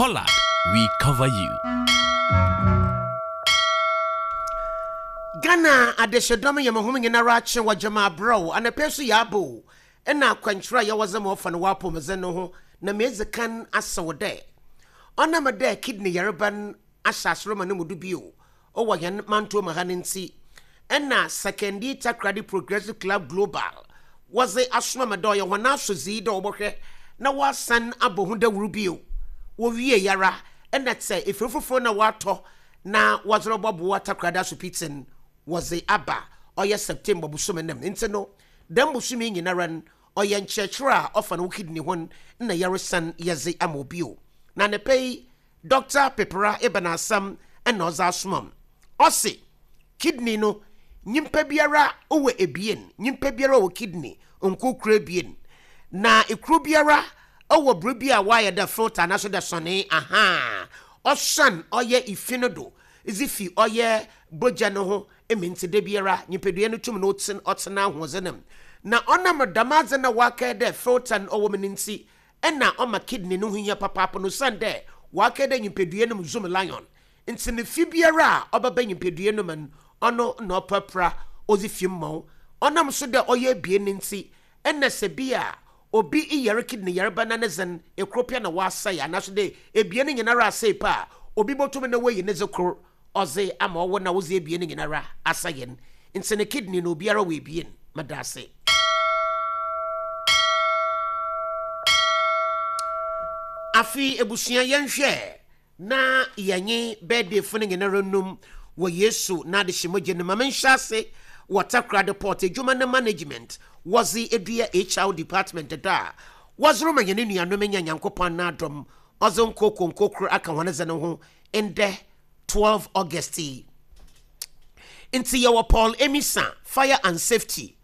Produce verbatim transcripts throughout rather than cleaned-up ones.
Hollard, we cover you. Ghana adehyedɔm yɛ mo hom nyinara akye wɔ gyama abrɛw anapɛ so yɛ abo ɛna akwankyerɛ a yɛwɔ dze ma ɔfa no w'apɔmudzen no ho na medzi kan asew dɛ ɔnam dɛ kidney yareba no ahyɛ asoro ma no mu do bio ɔwɔ hɛn manto ma ha no nti ɛna Sekondi Takoradi Progressive Club Global wɔdze asoma ma dɛ ɔyɛ hɔn asodzi dɛ wɔbɔhwɛ na wɔasan abɔ ho dawuro bio. Wɔwie yara ɛna sɛ efiri foforɔ na wɔatɔ na wɔdze rebɔboa Takoradi Asopitsin wɔdze aba ɔyɛ September bosome nam nti no dɛm bosome nyinara no ɔyɛ nkyerɛkyerɛ a ɔfa no wo kidney ho na yɛresan yɛdze ama obi na ne pɛ yi Doctor Pepera eben asɛm ɛna ɔdze asoma ɔse kidney no nyimpa biara wɔ ebien, nyimpa biara wɔ kidney nkokoro ebien, na ekuro biara wɔ biribi a wayɛ dɛ filter anaasɛ dɛ sɔne aha ɔsan ɔyɛ ifi no do dze fi ɔyɛ bogya no ho emi nti da biara nyimpadua no tum no ɔtena ɔtena ahoɔdzen mu na ɔnam dɛm adze na waka dɛ filter no ɔwɔ mu no nti ɛna ɔma kidney no ho hia papaapa no san dɛ waka dɛ nyimpadua no mu zoom lion nti ne fi biara a ɔbɛba nyimpadua no mu no ɔno na ɔprapra ɔdze fi mu ɔnam so dɛ ɔyɛ ebien ne nti ɛna sɛ bi a obi yare kidney yareba na ne dzen ekuro pia na wasɛe anaso dɛ ebien no nyinara asɛe pa a obi bɔtum na wayi ne dze kor ɔdze ama ɔwɔ na wodze ebien no nyinara asɛe no nti ne kidney no obiara wɔ ebien. Meda ase. Afi ebusua yɛnhwɛ na yɛnye birthday fo no nyinara num wɔ Yesu na adehyemogye no ma menhyɛ ase wɔ Takoradi Port adwuma no management wɔdze edua H R department da a wɔdze ma yɛn nuanom nya Nyankopɔn n'adom ɔdze nkoko nkokoro aka wɔn dze no ho ndɛ twelve August yi. Nti yɛwɔ Paul Emisa Fire and Safety,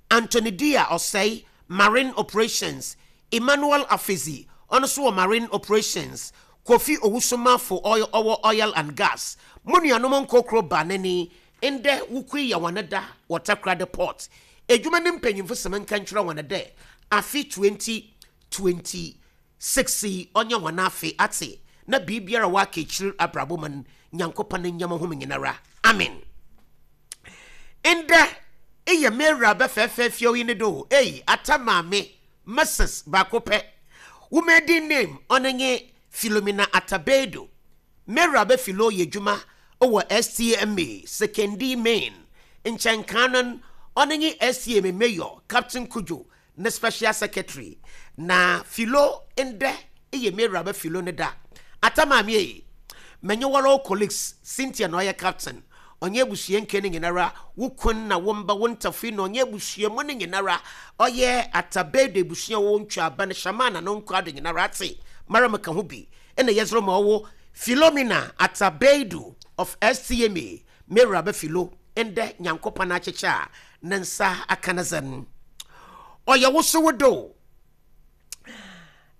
Anthony Dia Osei Marine Operations, Emmanuel Afizi ɔno nso wɔ Marine Operations, Kofi Owusumafo oil ɔwɔ Oil and Gas. Mo nuanom nkokoro ba n'ani ndɛ wukui yɛ wɔn da wɔ Takoradi Port. Edwuma ne mpanyimfo sɛm nka nkyerɛ wɔn dɛ afe twenty twenty six yi ɔnyɛ wɔn afe ate na biribiara waka akyiri abrabɔ mu no Nyankopɔn ne nyɛma ho nyinara. Amen. Ndɛ eyɛ Mary abɛfɛɛfɛ fie yi ne do ei ata maame Missus baako pɛ. Wo maiden name ɔno nye Philomena Atabedo. Mary abɛfilo yɛ adwuma wɔ S T M A Sekondi Main. Nkyɛnkan no ɔno nye S T M A Mayor Captain Kujo ne special secretary. Na Philo ndɛ eyɛ Mary abɛfilo ne da. Ata maame yi menye wɔrɔ colleagues Cynthia na ɔyɛ captain. Ɔnyɛ abusua nke ne nyinara wo kun na wo mba wo ntafo na ɔnyɛ abusua mu ne nyinara ɔyɛ Atabedo abusua wo ntwa aba ne shamana no nkɔ ado nyinara ate mara meka ho bi ɛna yɛzro ma ɔwo Philomena Atabedo of S T M A Mary abɛfilo ndɛ Nyankopɔn akyekyɛ a ne nsa aka ne zen ɔyɛ wo so wo do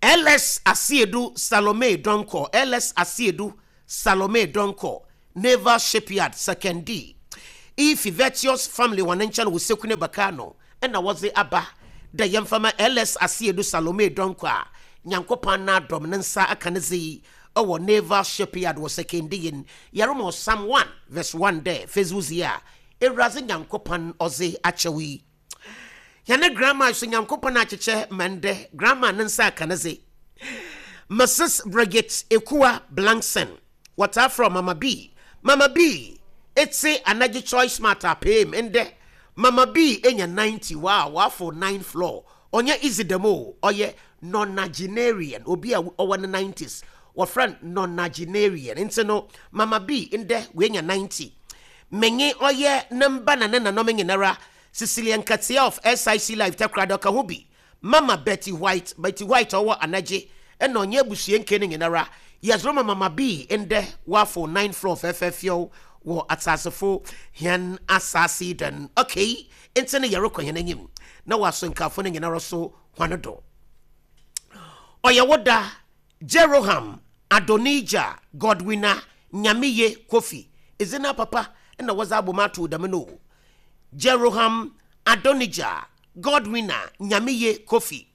L S Asiedu Salome Donko L S Asiedu Salome Donko Naval Shipyard Sekondi Ifi Virtuous family wɔn nkyɛn wɔ Sekune Bakano ɛna wɔdze aba da yɛmfama L S Asiedu Salome Donko a Nyankopɔn na adɔm ne nsa aka ne dze ɛwɔ Naval Shipyard wɔ Sekondi yin yɛremo Psalm one verse one dɛ Facebook yi a Ewuradze Nyankopɔn ɔdze akyɛw yi yɛne grandma so Nyankopɔn akyekyɛ mande grandma ne nsa aka ne dze Missus Bridget Ekua Blankson wɔtaa frɛ Mama B. Mama B etse anagye choice smart apem ndɛ Mama B enya ninety wow wafo nine floor ɔnyɛ easy demo ɔyɛ nonagenarian obi a ɔwɔ ne nineties wɔfrɛ nonagenarian nti no Mama B ndɛ wenya ninety menye ɔyɛ namba na ne nanom nyinara Cecilia Nkatia of S I C Life Takoradi ɔka ho bi Mama Betty White Betty White ɔwɔ anagye ɛna ɔnyɛ abusua nke ne nyinara yɛzoro ma Mama B ndɛ wafo nine floor fɛfɛɛfɛw wɔ atasefo hɛn asase dan okay nti ne yɛrekɔ hɛn anim na waso nkafo ne nyinara so hwane do ɔyɛ woda Jeroham Adonija Godwina Nyameye Kofi ezina papa na wɔdze abom ato dɛm no Jeroham Adonija Godwina Nyameye Kofi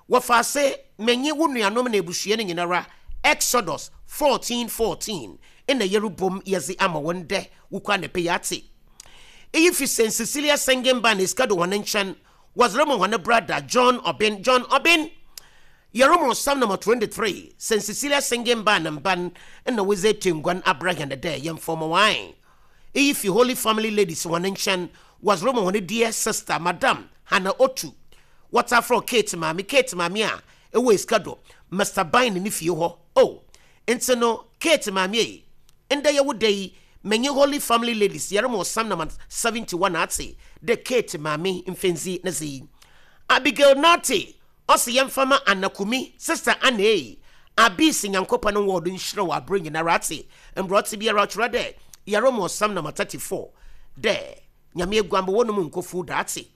wɔfa ase menye wo nuanom na ebusua no nyinara Exodus fourteen fourteen ɛna yɛrebom yɛdze ama wɔn dɛ wokɔ anapɛ yi ate. Eyi fi Saint Cecilia Singing Band Essikado wɔn nkyɛn, wɔdze rema wɔn brother John Obin. John Obin, yɛrema Psalm number twenty-three. Saint Cecilia Singing Band mban ɛna wɔdze etu nguan abra hɛn dɛ yɛmfɔm wine. Eyi fi Holy Family Ladies wɔn nkyɛn, wɔdze rema wɔn dear sister Madam Hannah Otu, wɔtafrɔ Kate maame, Kate maame a ɛwɔ Essikado Mister Bine ne fie hɔ. Oh, nti no Kate maame yi, ndɛ yɛwo da yi, menye Holy Family Ladies yɛrema Psalm number seventy-one ate de Kate maame mfenzi ne zi. Abigail Nate ɔsi yɛmfama Anakumi sister Anne Abisi, Nyankopɔn no wɔdo nhyira wɔ abere nyinara ate mbrɔte biara ɔtwerɛ dɛ yɛrema Psalm number thirty-four dɛ Nyame eguambɔ wɔn mu nkofu da ate.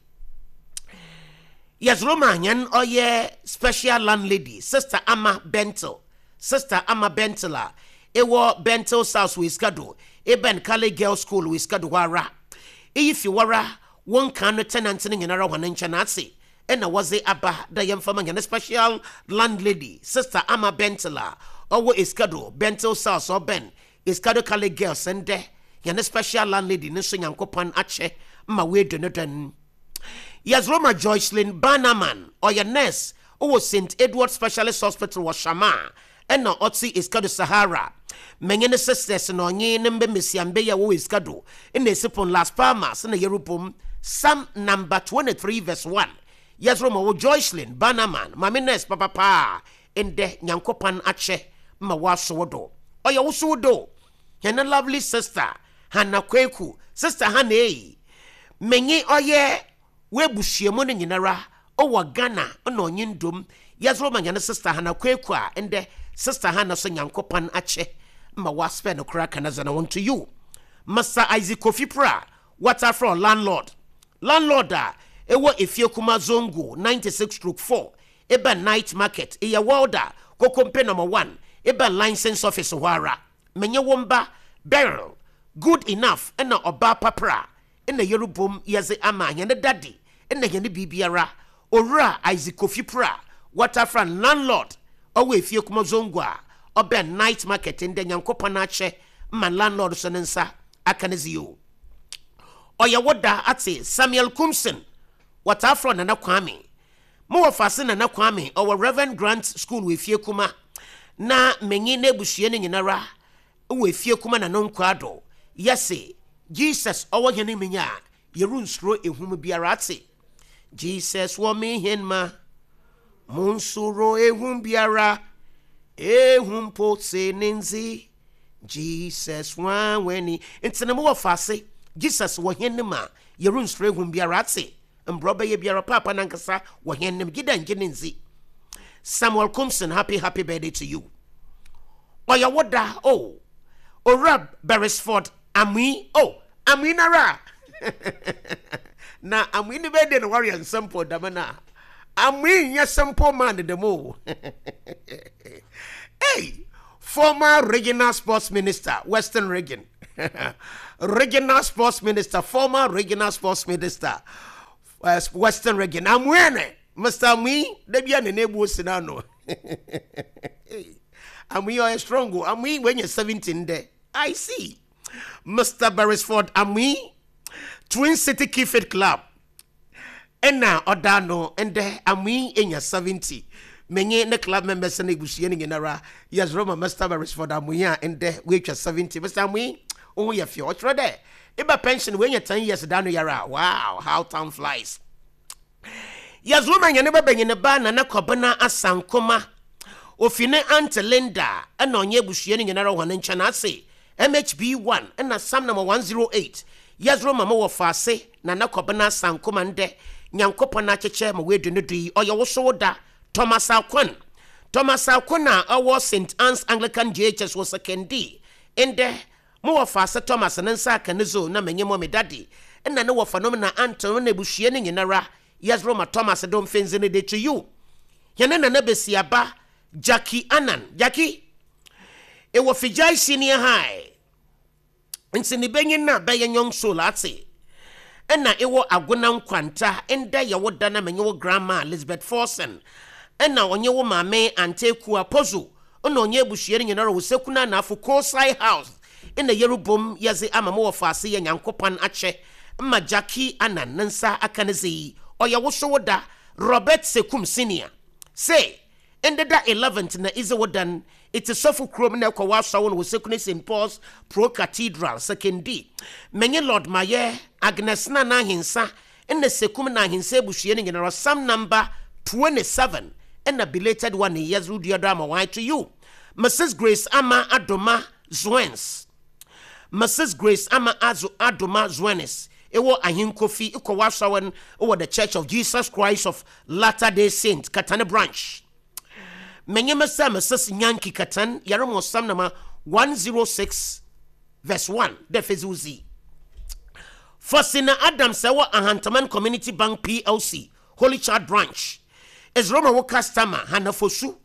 Yɛzoro yɛn ɔyɛ special landlady Sister Ama Bentel, Sister Ama Bentel a ɛwɔ Bentel South wɔ Essikado, eben Kale Girls School wɔ Essikado hɔ ara. Eyi fi wara wɔn kan no tenant no nyinara wɔn nkyɛn ase ɛna wɔdze aba da yɛmfama yɛn special landlady Sister Ama Bentel a ɔwɔ Essikado Bentel South, ɔbɛn Essikado Kale Girls. Ndɛ yɛn special landlady ne nso Nyankopɔn akyɛ ma weedu no dɛn. Yɛzoroma Joycelyn Bannerman, ɔyɛ nurse ɔwɔ Saint Edward Specialist Hospital wɔ Shama ɛna ɔte Essikado Sahara. Menye ne sisters na ɔnye ne mbe mmesiambe yɛ wɔwɔ Essikado ɛna esipon Las Palmas na yɛrepom Psalm number twenty-three verse one. Yɛzoroma wɔ Joycelyn Bannerman, maame nurse papapaa, ndɛ Nyankopɔn akyɛ ma wɔaso do ɔyɛ woso do. Yɛne lovely sister Hannah Kweku, Sister Hannah yi, menye ɔyɛ webusuamu no nyinara ɔwɔ Ghana ɛna ɔnye ndom yɛzoro ma yɛne Sister Hannah Kweku a ndɛ Sister Hannah so Nyankopɔn akyɛ ma waspɛ no koraa kana zana to you. Mister Isaac Kofi Pra, watafrɔ landlord, landlord a ɛwɔ Efie Kuma Zongo ninety-six stroke four, eba night market, ɛyɛ welder, Kokompe number one, eba license office hɔ ara. Menye wɔn ba Beryl Good Enough ɛna ɔbaa papra ɛna yɛrebom yɛdze ama yɛne daddy ɛna yɛne biribiara Owura Isaac Kofi Pra, watafra landlord ɔwɔ Efie Kuma Zongo a ɔbɛn night market. Ndɛ Nyankopɔn akyɛ ma landlord so ne nsa aka ne zio ɔyɛ woda ate. Samuel Kumson, wɔtaafrɔ Nana Kwame, mowɔ faase Nana Kwame ɔwɔ Reverend Grant School wɔ Efie Kuma, na menye n'abusua no nyinara wɔ Efie Kuma na no nkwa do yɛse Jesus ɔwɔ hɛn minya a yɛrensuro ehum biara ate. Jesus wɔ me hɛn ma monsuro ehum biara, ehum po se ne nzi Jesus wanwani. Nti na mowɔ faase Jesus wɔ hɛn nim a yɛrensuro ehum biara ate. Mbrɛ ɔbɛyɛ biara paapa nankasa wɔ hɛn nim gye dɛ ngye ne nzi. Samuel Kumson, happy happy birthday to you. Ɔyɛ wo da o. Owura Beresford Amui, oh, Amui nara na Amui ne birthday na wɔreyɛ nsɛmpo dama na Amui nyɛ simple man dɛm o. Hey, former regional sports minister, Western Region regional sports minister, former regional sports minister, uh, Western Region, Amuene, Mister Amui dabi a nene ebu osi na no Amui ɔyɛ strong o. Amui wenya seventeen dɛ. I see Mister Beresford Amui, Twin City Kifit Club ɛna ɔda no. Ndɛ Amui enya seventy. Menye ne club members ne ebusua no nyinara yɛsrɛ ma Mister Beresford Amui a ndɛ woatwa seventy. Mister Amui, wo ho yɛ fɛ, ɔkyerɛ dɛ eba pension woanya ten years da no yara. Wow, how time flies. Yɛsrɛ ma nyane bɛbɛnye ne ba Nana Kɔbena Asankoma ofi ne Aunt Linda ɛna ɔnyɛ abusua no nyinara wɔ ne nkyɛn ase M H B one ɛna Psalm number one oh eight. Yɛsrɛ ma mowɔ faase Nana Kɔbena Asankoma, ndɛ Nyankopɔn akyekyɛ ma woadu no do yi. Ɔyɛ wo so wo da. Thomas Akwan, Thomas Akwan a ɔwɔ Saint Anne's Anglican J H S wɔ Sekondi, ndɛ mowɔ faase Thomas ne nsa aka ne zo na menye mɔ me daddy ɛna ne wɔfa nom na anton na abusua no nyinara yɛsrɛ ma Thomas dom fenzi no de to you. Yɛne Nana Besiaba Jackie Anan, Jackie ɛwɔ Fijai Senior High nti ne bɛnyin no a bɛyɛ nyɔn soul ate ɛna ɛwɔ Agona Nkwanta. Ɛndɛ yɛwo da na menye wo grandma Elizabeth Forson ɛna ɔnye wo maame Antekua Pozo Ɔna ɔnyɛ abusua no nyinara wɔ Sekuna Anafo Kosai House ɛna yɛrebom yɛdze ama mo wɔ faase yɛ Nyankopɔn akyɛ ma Jackie Anan ne nsa aka ne dze yi. Ɔyɛ wo so wo da, Robert Sekum Senior, sɛ ndeda eleventh na idze wo dan iti sɔfo kurom na ɛkɔ w'asɔwo no wɔ Sekune Saint Paul's Pro Cathedral Sekondi. Menye Lord Mayɛ Agnes na n'ahensa ɛna Sekum na ahensa abusua no nyinara, Psalm number twenty-seven ɛna belated one yɛdze wo dua do ama wɔn. To you, Missus Grace Ama Adoma Zwens, Missus Grace Ama Azo Adoma Zwenes, ɛwɔ Ahenkofi, ɛkɔ w'asɔwo no ɛwɔ The Church of Jesus Christ of Latter Day Saint Katane Branch. Menye sɛ Missus Nyanki Katan yɛremo Psalm number one oh six verse one dɛ fɛdzi wo zi. Faustina Adams ɛwɔ Ahantaman Community Bank P L C Holy Child Branch Israel wo customer Hana Fosu,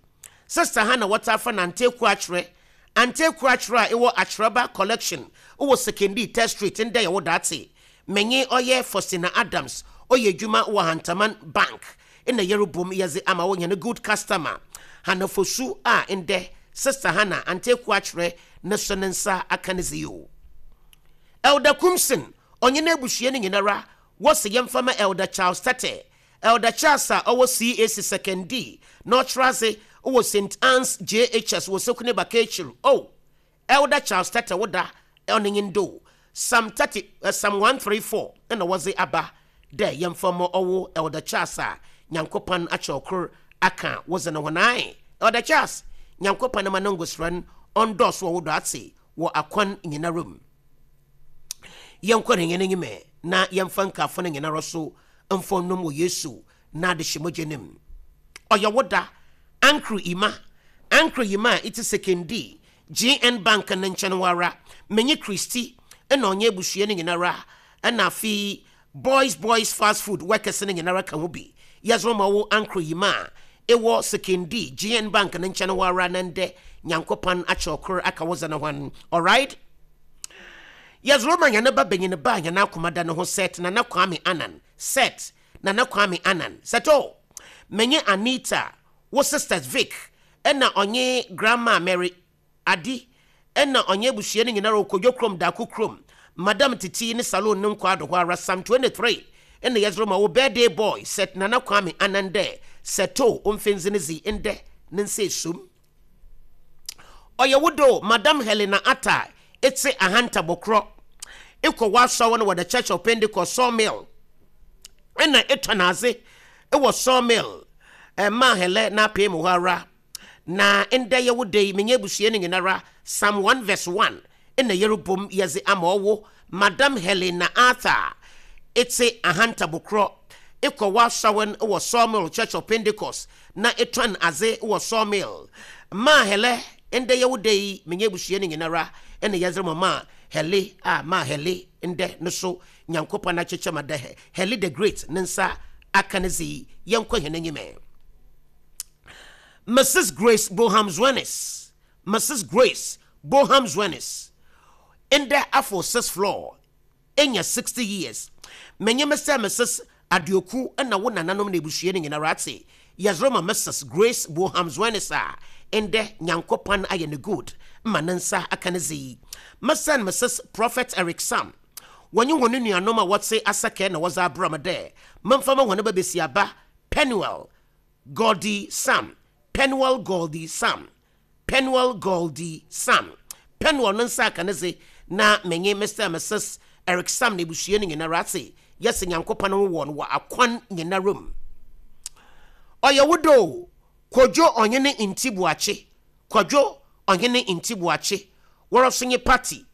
Sister Hana wɔtafa nante ku akyerɛ ante ku akyerɛ a ɛwɔ Akyerɛba Collection ɛwɔ Sekondi Test Street. Ndɛ yɛwɔ daate menye ɔyɛ Faustina Adams, ɔyɛ adwuma wɔ Ahantaman Bank ɛna yɛrebom yɛdze ama wo nyɛ good customer Hana Fosu a ndɛ Sister Hana ante ku akyerɛ ne so ne nsa aka ne dze yi o. Elder Kumsin ɔnye n'abusua no nyinara wɔsi yɛmfa ma Elder Charles Tete, Elder Charles a ɔwɔ C A C Sekondi na ɔkyerɛ ase wɔ Saint Anne's J H S wɔ Sekune Bakekyir o. Elder Charles Tete, woda ɔne nye ndo Psalm thirty, uh, Psalm one thirty-four ɛna wɔdze aba dɛ yɛmfa ma ɔwɔ Elder Charles a Nyankopɔn akyɛ ɔkor aka wɔdze ne ho nan. Elder Charles, Nyankopɔn ma no ngosra no ɔndɔɔso wɔ wo do ate wɔ akwan nyinara mu. Yɛnkɔ ne yɛn anim na yɛmfa nkafo no nyinara so mfa nnum wɔ Yesu na adehyɛ mogya nim. Ɔyɛ wo da, Ankro Ima, Ankro Ima a iti Sekondi G N Bank ne nkyɛn wara. Menye Christy ɛna ɔnyɛ abusua no nyinara ɛna afei Boys Boys Fast Food workers no nyinara ka ho bi yɛsoro ma wo Ankro Yima a ɛwɔ Sekondi G N Bank ne nkyɛn wara na ndɛ Nyankopɔn akyɛ ɔkor aka wo zɛ no hwan. Alright, yɛsoro ma yɛne ba banyin ba a yɛn akoma da ne ho, Seth Nana Kwame Anan, Seth Nana Kwame Anan Sɛto. Menye Anita, wo sisters Vic ɛna ɔnye Grandma Mary Adi ɛna ɔnye abusua no nyinara Okodwo kurom Daako kurom Madam Titi ne salon ne nkɔ ado hɔ ara. Psalm twenty-three ɛna yɛsoro ma wo birthday boy Seth Nana Kwame Anan dɛ Sɛto ɔmfɛnzi ne zi ndɛ ne nsa esum. Ɔyɛ wo do, Madam Helena Atta etse Ahanta Bɔkorɔ, ekɔ w'asɔre no wɔ The Church of Pentecost Sawmill ɛna etɔ n'adze ɛwɔ Sawmill ɛma Hɛlɛ n'apee mu hɔ ara na ndɛ yɛ wo da yi. Menye abusua no nyinara, Psalm one verse one ɛna yɛrebom yɛdze ama ɔwo Madam Helena Arthur etse Ahanta Bokorɔ, ekɔ w'asɔre no wɔ Sawmill Church of Pentecost na etɔn adze wɔ Sawmill maa Hɛlɛ. Ndɛ yɛ wo da yi, menye abusua no nyinara ɛna yɛdze ma maa Hɛle a maa Hɛle ndɛ no so Nyankopɔn akyekyɛ ma dɛ Hɛle the Great ne nsa aka ne dze yi. Yɛnkɔ hɛn anyim. Missus Grace Boham Zwenis, Missus Grace Boham Zwenis, ndɛ afɔ six floor enya sixty years. Menye Mister Missus Aduoku ɛna wo nananom na ebusua no nyinara ate yɛsoro ma Missus Grace Boham Zwenis a ndɛ Nyankopɔn ayɛ ne good ma ne nsa aka ne dze yi. Mister and Missus Prophet Eric Sam wɔnye wɔn nuanom a wɔte Asakɛ na wɔdze abrɛ m dɛ memfa ma wɔn ba besiaba Penuel Gordy Sam, Penuel Goldie Sam, Penuel Goldie Sam. Penuel no nsa aka ne dze na menye Mister and Missus Eric Sam na ebusua no nyinara ate yɛsɛ Nyankopɔn ho wɔ no wɔ akwan nyinara mu. Ɔyɛ wo do, Kodwo Ɔhene Nti Buakye, Kwadwo Ɔhene Nti Buakye, wɔrɔ so nye party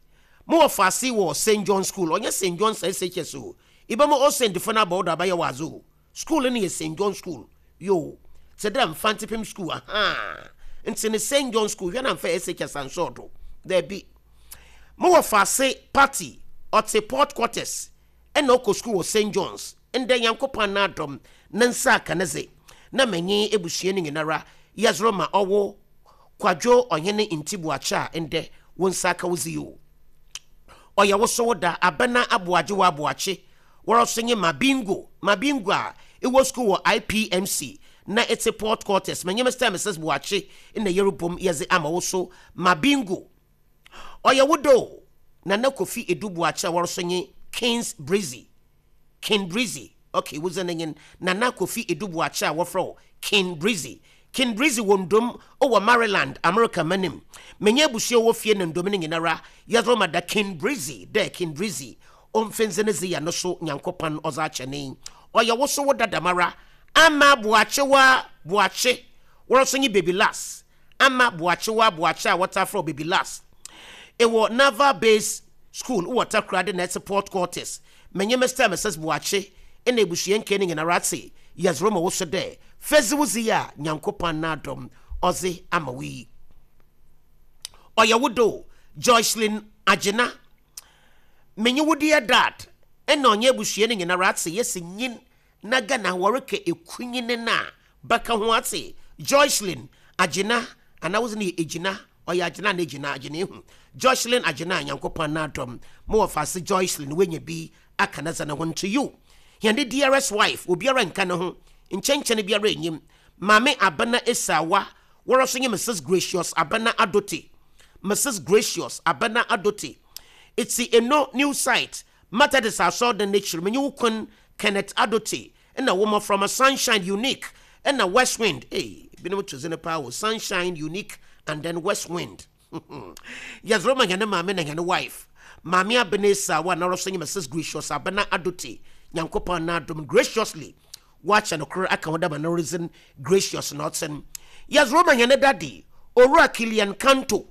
mo wɔ faase wɔ Saint John School. Ɔnyɛ Saint John S H S o, ibɛma o Saint fo no abɔ wo do abayɛ wɔ adze o. School no yɛ Saint John School yo te dɛ Mfantepem School aha nti ne Saint John School. Hwɛ na mfa S H S ansɔɔ do daabi. Mo wɔ faase party ɔte Port Quarters ɛna ɔkɔ school wɔ Saint Johns. Ndɛ Nyankopɔn n'adɔm ne nsa aka ne dze na manyi ebusua no nyinara yɛsoro ma ɔwo Kwadwo Ɔhene Nti Buakye a ndɛ wo nsa aka wo dzi yi o. Ɔyɛ wo so wo da, Abɛna Aboagye wɔ Aboakye, wɔrɔ so nye Mabingo, Mabingo a ɛwɔ school wɔ I P M C Na ɛte Port Quarters, manyɛ Mister Missus Boakye na yɛrebom yɛdze ama wo so ma bingo. Ɔyɛ wo do, Nana Kofi Edu Boakye a wɔreso nye Kings Breezy, King Breezy. Okay, wodze ne nyen Nana Kofi Edu Boakye a wɔfrɛ wo King Breezy, King Breezy wɔ Ndom wɔ Maryland, America manim. Menye abusua wɔ fie ne Ndom no nyinara yɛdze ma da King Breezy dɛ King Breezy ɔmfɛnze ne dze yɛ no so Nyankopɔn ɔdze akyɛ ne. Ɔyɛ wo so wo dadamara Ama Boakyewa Boakye wɔreso nye Baby Las, Ama Boakyewa Boakye a wɔta frɛ Baby Las, ɛwɔ Naval Base School wɔ Takoradi na ɛte Port Quarters. Menye Mister Missus Boakye ɛna ebusua nke ne nyinara ate yɛdze ma wo so dɛ fɛdzi wo dzi a Nyankopɔn n'adom ɔdze ama wo yi. Ɔyɛ wo do, Joycelyn Agyena, menye wo dear dad ɛna ɔnyɛ abusua no nyinara ate yɛsi nyin na Ghana wɔreka ekunyini na bɛka ho ate Joycelyn Agyena anaa wodze no yɛ Egyina, ɔyɛ Agyena na Egyina Agyena ehu Joycelyn Agyena. Nyankopɔn n'adom mo wɔ faase Joycelyn wenya bi aka na dza ne ho nto you. Yɛn dearest wife, obiara nka ne ho nkyɛnkyɛn biara enyim, Maame Abena Esawa, wɔrɔ so nye Missus Gracious Abena Adote, Missus Gracious Abena Adote, eti eno New Site Methodist asɔrdan n'ekyir. Menye wo kun Kenneth Adote ɛna wɔn from a Sunshine Unique ɛna West Wind. Ee, binom to zene paa wɔ Sunshine Unique and then West Wind. Yɛdze ma yɛne maame na yɛne wife Maame Abena Esawa na ɔrɔ so nye Missus Gracious Abena Adote. Nyankopɔn n'adom graciously wakyɛ no koro aka ho dama no reason gracious na ɔten. Yɛdze ma yɛne daddy Owura Kilian Kanto,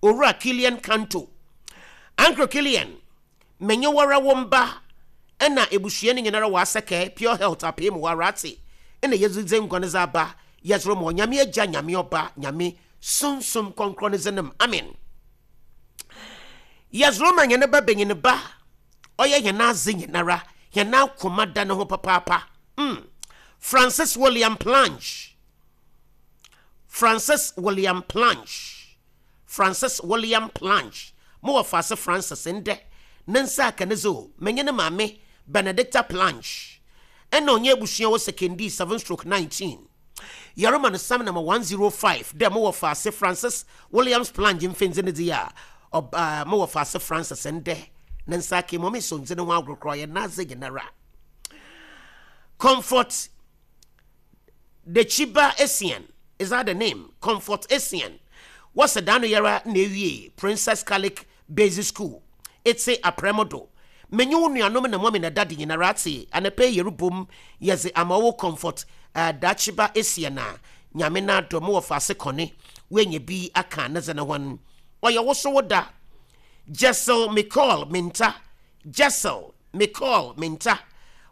Owura Kilian Kanto, Uncle Kilian, menye wɔra wɔn ba ɛna ebusua no nyinara wɔ Asɛkɛ Pure Health apee mu wɔ ate ɛna yɛdze nkwa no dze aba. Yɛdze ma Onyame Agya, Nyame Ɔba, Nyame Sunsum Kɔnkrɔn ne dze amen. Yɛdze ma yɛne ba benyin ba ɔyɛ yɛn adze nyinara, yɛn akoma da ne ho papaapa, mm. Francis William Plange, Francis William Plange, Francis William Plange, mo wɔ faase Francis ndɛ ne nsa aka ne zo. Menye ne maame Benedicta Plange ɛna ɔnyɛ abusua wɔ Sekondi seven stroke nineteen. Yɛrema no Psalm number one oh five dɛ mowɔ faase Francis Williams Plange mfɛndzi ne dze a ɔba mowɔ faase Francis ndɛ ne nsa aka mu ɔme so ndze ne ho agorɔkorɔ ɔyɛ n'adze nyinara. Comfort Dechiba Essien, is that the name? Comfort Essien wɔsɛ dan no yɛra na ewie Princess Catholic Basic School etse Aprɛmodo. Menye wo nuanom na mɔmi na dade nyinara ate anapɛ yɛrebom yɛdze ama wo Comfort uh, Dachiba Essien a Nyame no adɔ mo wɔ faase kɔne woanya bi aka ne dze ne ho no. Ɔyɛ wo so wo da, Jessel Micol Minta, Jessel Micol Minta,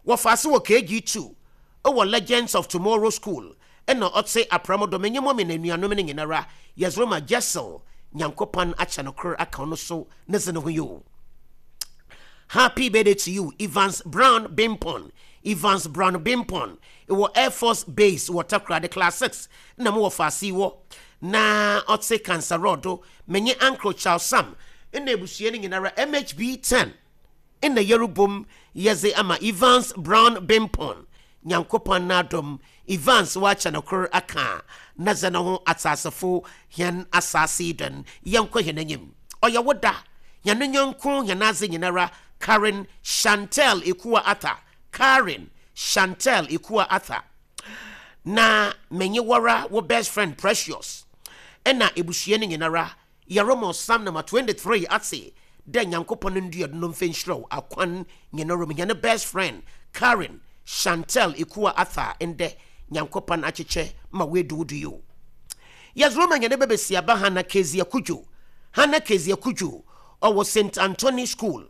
wɔfaase wɔ K G two ɛwɔ Legends of Tomorrow School ɛna ɔte Aprɛmodo. Menye mɔmi na nuanom no nyinara yɛdze ma Jessel. Nyankopɔn akyɛ no koro aka no so ne dze ne ho yi o. Happy birthday to you, Evans Brown Bimpon, Evans Brown Bimpon, ɛwɔ Air Force Base wɔ Takoradi, class six na mo wɔ faase wɔ na ɔte Kansarɔdo. Menye Uncle Charles Sam ɛna abusua no nyinara M H B ten ɛna yɛrebom yɛdze ama Evans Brown Bimpon. Nyankopɔn n'adom Evans wakyɛ no koro aka na dze ne ho atasefo hɛn asase yi dɔn. Yɛnkɔ hɛn anim. Ɔyɛ wo da, yɛn nyɔnko, yɛn adze nyinara, Karen Chantel Ekua Arthur, Karen Chantel Ekua Arthur, na menye wɔra wo best friend Precious ɛna ebusua no nyinara yɛremɔ Psalm number twenty-three ate dɛ Nyankopɔn ndua do no mfa nhyira wo akwan nyinara mu. Yɛne best friend Karen Chantel Ekua Arthur ndɛ Nyankopɔn akyekyɛ ma woedu wo do yi o. Yɛdze ma yɛne bɛbɛsiaba Hana Kezia Kudwo, Hana Kezia Kudwo, ɔwɔ Saint Anthony School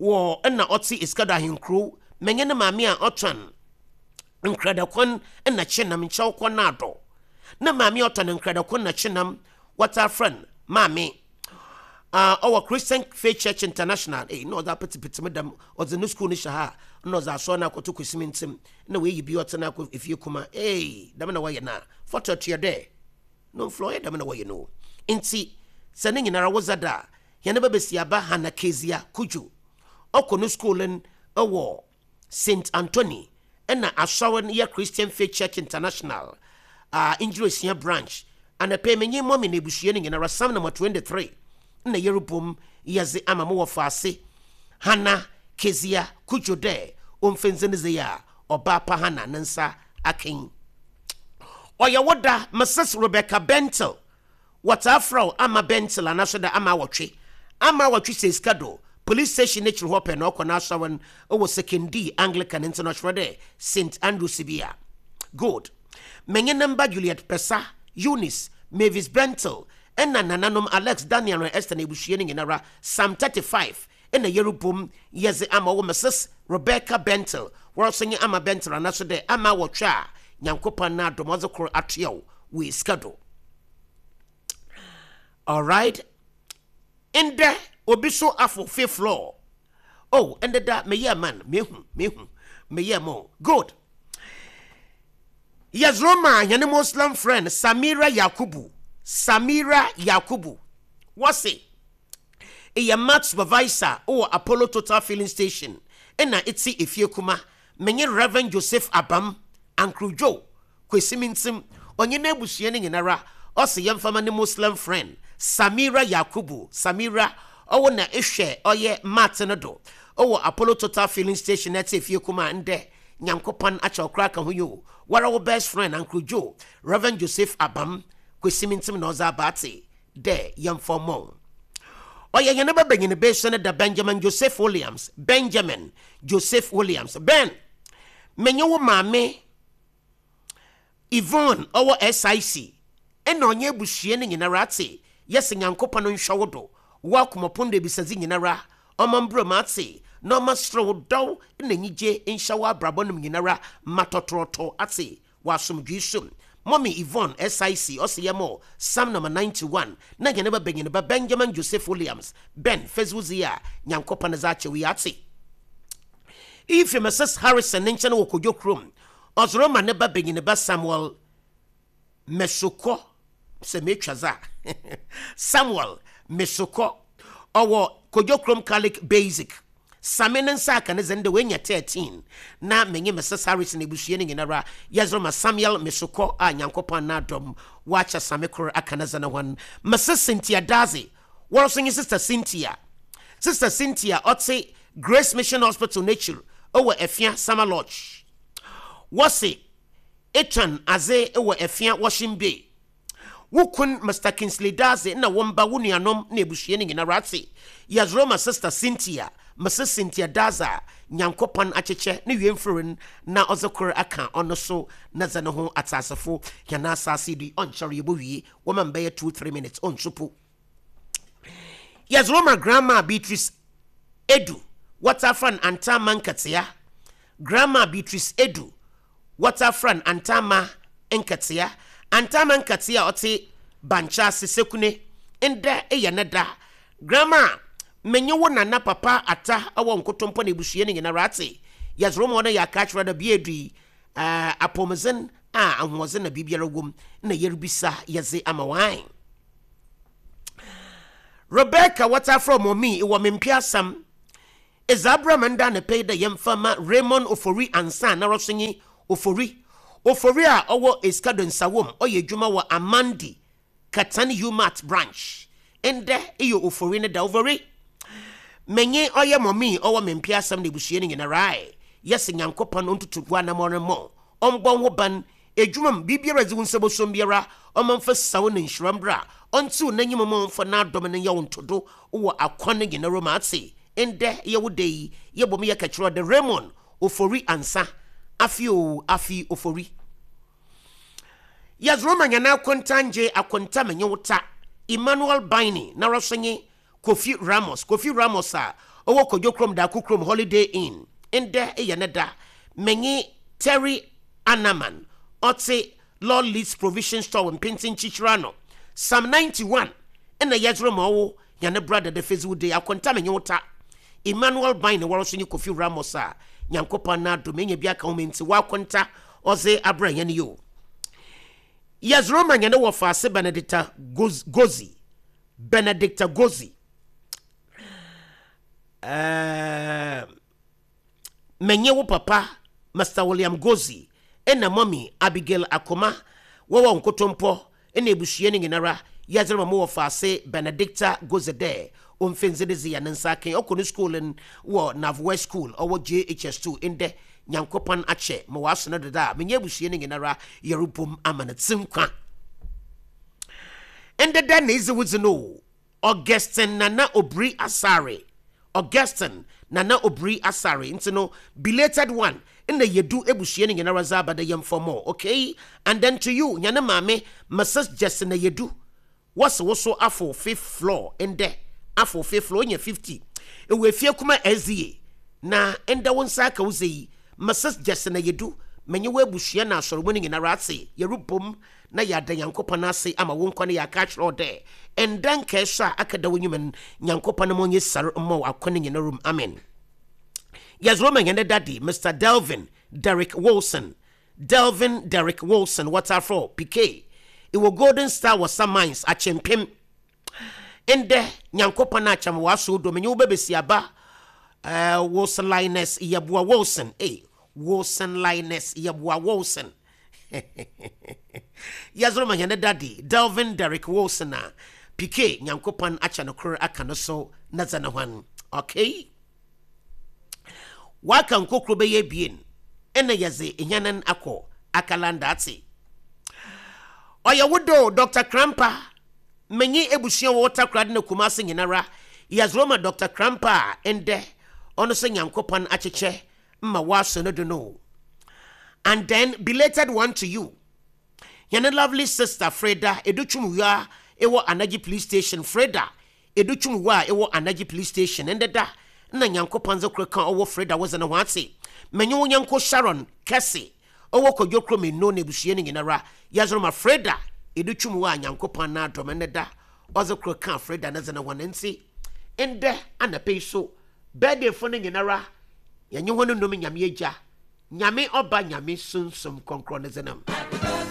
wɔ ɛna ɔte Esikado Ahenkuro. Mɛnyɛ ne maame a ɔtɔn nkradakwan ɛna kyenam nkyɛw kɔ naadɔ na maame a ɔtɔn nkradakwan na kyenam wɔta frɛ no maame uh, ɔwɔ Christian Faith Church International. Eh, na ɔdze apetepete mu dɛm ɔdze ne school no hyɛ ha na ɔdze asɔre no akɔto kwesimi ntɛm na wɔayi bi ɔte no akɔ efie kuma. Ee, dɛm na wɔyɛ na fɔtɔ tua dɛ no mflɔ ɔyɛ dɛm na wɔyɛ no. Nti sɛ ne nyinara wodza da a yɛne bɛbɛsi aba Hana Kezia Kudwo ɔkɔ no school no ɛwɔ Saint Anthony. Ɛna asɔre no yɛ Christian Faith Church International uh, Ngyerɛsia branch. Anapɛ menye mɔmi na ebusua no nyinara, Psalm number twenty-three na yɛrebom yɛdze ama mo wɔ faase Hana Kezia Kudwo dɛ ɔmfɛnze ne dze a ɔbaa pa Hana ne nsa aken. Ɔyɛ wo da, Missus Rebecca Bentel, wɔtaa frɛ wo Ama Bentel anaasɛ da Ama Awɔtwe. Ama Awɔtwe sɛ sika do police station n'akyiri hɔ pɛ na ɔkɔ n'asɔre no ɛwɔ Sekondi Anglican, nti no ɔkyerɛ dɛ Saint Andrews bi a. Good. Menye ne mba Juliet Pesa, Eunice, Mavis Bentel, ɛna nananom Alex, Daniel na Esther na ebusua no nyinara, Psalm thirty-five ɛna yɛrebom yɛdze ama wɔ Missus Rebecca Bentel, wɔrɔso nye Ama Bentel anaso dɛ Ama Awɔtwe a Nyankopɔn na adom ɔdze koro atoa wo wɔ sika do. Alright, ndɛ obi so afo fifth floor. Oh, ndɛ da meyɛ man mehu mehu meyɛ mo. Good. Yɛzoro yɛne Muslim friend Samira Yakubu. Samira Yakubu, wɔse ɛyɛ mart supervisor wɔ Apollo Total Filling Station, ɛna ɛti efie kuma. Menye Reverend Joseph Abam Ankrudwo Kwesi Mintim, ɔnye n'abusua no nyinara, ɔse yɛmfama ne Muslim friend Samira Yakubu. Samira, ɔwɔ na ehwɛ ɔyɛ mart no do ɔwɔ Apollo Total Filling Station, na ɛte efie kuma. Ndɛ Nyankopɔn akyɛ ɔkora ka ho yi o. Wara wo best friend Ankrudwo Reverend Joseph Abam Kwesi Mintim na ɔdze abaate dɛ yɛmfa mmɔ. Ɔyɛ yɛn ba benyin bɛsɛ no da, Benjamin Joseph Williams. Benjamin Joseph Williams, Ben, menye wo maame Yvonne ɔwɔ S I C, ɛna ɔnyɛ abusua no nyinara ate yɛsɛ Nyankopɔn nhwɛ wo do wo akomɔpon do ebisadze nyinara ɔma mbrɛ mu ate na ɔma serew dɔw na enyigye nhyɛ wo abrabɔ nom nyinara ma tɔtorɔtɔ ate wɔ asomdwee so. Mommy Yvonne S I C ɔsɛ yɛ mɔ Psalm number ninety-one na yɛne ba benyin ba Benjamin Joseph Williams. Ben Feswuzi a Nyankopɔn dze akyɛ wo yi ate. Iyi fi Missus Harrison ne nkyɛn wɔ Kodwo kurom. Ɔsoro ma ne ba benyin ba Samuel Mesokɔ, sɛ metwa za Samuel Mesokɔ, ɔwɔ Kodwo kurom Catholic Basic. Same ne nsa aka ne zɛn de wanya thirteen, na menye Missus Harrison ebusua no nyinara yɛsoro ma Samuel Mesokɔ a Nyankopɔn na adɔm wakyɛ same koro aka ne zɛn hɔ. Missus Cynthia Daze, wɔn nso nye Sister Cynthia. Sister Cynthia ɔte Grace Mission Hospital n'ekyir ɛwɔ Efia Summer Lodge. Wɔse etwan adze wɔ Efia Washing Bay. Wo kun Mister Kingsley Daze na wɔn ba, wo nuanom na ebusua no nyinara ate yɛsoro ma Sister Cynthia, Missus Cynthia Daze a Nyankopɔn akyekyɛ ne wie mfirin na ɔdze koro aka ɔno so na dze ne ho atasefo yɛn asase di. Ɔnkyɛre yɛbɔ wie, wɔma mbɛyɛ two three minutes ɔnsopo. Yɛsoro ma Grandma Beatrice Edu, wɔtafra no Antama Nkatea. Grandma Beatrice Edu, wɔtafra no Antama Nkatea. Antama Nkatea a ɔte Bankyɛ ase Sekune, ndɛ ɛyɛ ne da. Grandma, menye wo nana papa ata ɛwɔ Nkotompɔ na ebusua no nyinara ate yɛsoro ma ɔno yɛ aka akyerɛ da bia edu yi ɛɛ apɔmuden a ahoɔden na biribiara wɔ na yɛrebisa yɛdze ama wan. Rebecca, wɔtafra mɔmi wɔ Mempiasam, ɛdze abrama nda ne pɛi dɛ yɛmfa ma Raymond Ofori ansa na rɔso nye Ofori Ofori a ɔwɔ Esikado Nsawom, ɔyɛ adwuma wɔ Amandi Katan Umat branch. Ndɛ ɛyɛ Ofori ne da. Ofori, menye ɔyɛ mɔmi ɔwɔ Mempiasam na ebusua no nyinara yɛsɛ Nyankopɔn ɔntutu gu anamɔ no mmɔ ɔmbɔ ho ban edwuma mu biribiara dze wo nsa bɔsom biara ɔma mfa sawo ne nhyira mbra ɔntew n'enyim ma ɔmfa n'adɔm no nyɛ wo ntodo wɔ akwan no nyinara mu ate. Ndɛ yɛwo da yi yɛbɔ mu yɛka kyerɛ ɔde Raymond Ofori ansa afi o afi Ofori. Yɛdze ma nyana akontangye akonta menye wo ta Emmanuel Baini na rɔso nye Kofi Ramos. Kofi Ramos a ɔwɔ Kodwo kurom Daako kurom Holiday Inn, ndɛ yɛ ne da. Menye Terry Anaman ɔte Lord Leeds Provision Store Mpenten Kyikyiri ano, Psalm ninety-one ɛna yɛdze ma ɔwo yɛne brother de fezi de akonta menye wo ta Emmanuel Baini wɔrɔso nye Kofi Ramos a Nyankopɔn na adom enya bi aka ho nti wakonta ɔdze abrɛ yɛn yi o. Yɛdze ma yɛne wɔ faase Benedicta Gozi. Benedicta Gozi, uh, menye wo papa Mister William Gozi ɛna Mummy Abigail Akoma wɔwɔ Nkotompɔ ɛna ebusua no nyinara. Yɛdze ma mo wɔ faase Benedicta Gozi dɛ ɔmfɛnzi de dze yɛ ne nsa aka. Ɔkɔ no school no wɔ Navwest School, ɔwɔ J H S two. Ndɛ Nyankopɔn akyɛ ma wɔaso no deda a menyɛ abusua no nyinara yɛrebom ama no tse nkwa. Ndeda na edzi wo dzi no, Augustin Nana Obiri Asare, Augustin Nana Obiri Asare. Nti no belated one ɛna yɛdu ebusua no nyinara dze aba dɛ yɛmfɔmɔ. Okay, and then to you, nyane maame Missus Justina Yedu, wɔsi wo so afo fifth floor. Ndɛ afo fifth floor, onye fifty, ewu efie kuma S D A na ndɛ wo nsa aka wo sɛ yi. Missus Justina Yedu, menye wo abusua na asɔrɔmu no nyinara ase yɛrebom na yɛada Nyankopɔn ase ama wo nkwa no. Yɛaka akyerɛ wo dɛ ɛnda nkae so a aka da wo nwuma no, Nyankopɔn no ma ɔnyɛ sare mma wo akɔ no nyinarum. Amen. Yɛsoro ma yɛn daddy Mister Delvin Derek Wilson, Delvin Derek Wilson, wɔtafrɔ P K, ɛwɔ Golden Star wɔ Samines Akyempem. Ndɛ Nyankopɔn akyɛm w'aso do menye wo bɛbɛsi aba uh, Wilson Linus Yɛboa Wilson, eh, Wilson Linus Yɛboa Wilson. Yɛsoro ma yɛn daddy Delvin Derek Wilson a P K, Nyankopɔn akyɛ no koro aka no so na dza ne hwan. Okay, waka nkokoro bɛyɛ ebien ɛna yɛdze ehyanan akɔ akalanda ate. Ɔyɛ wodo Doctor Krampa, menye ebusua wɔ Takoradi na Kumase nyinara. Yɛdze ma Doctor Krampa a ɛndɛ ɔno sɛ Nyankopɔn akyekyɛ ma wɔaso no do no. And then belated one to you, yɛne lovely sister Freda Edutwumwia ɛwɔ Anagye Police Station. Freda Edutwumwia a ɛwɔ Anagye Police Station, ɛndɛ da na Nyankopɔn dze koro ka ɔwɔ Freda wɔdze ne ho ate. Menye wo nyanko Sharon Kɛse ɔwɔ Kwadwo kurom eno na ebusua no nyinara. Yɛdze ma Freda Edutwumwia a Nyankopɔn na adɔm ɛndɛ da ɔdze koro ka Freda ne dze ne ho ne. Nti ndɛ anapa yi so birthday fo no nyinara, yɛnye hɔ no nom Nyame Agya, Nyame Ɔba, Nyame Sunsum Kɔnkrɔn ne dze nam.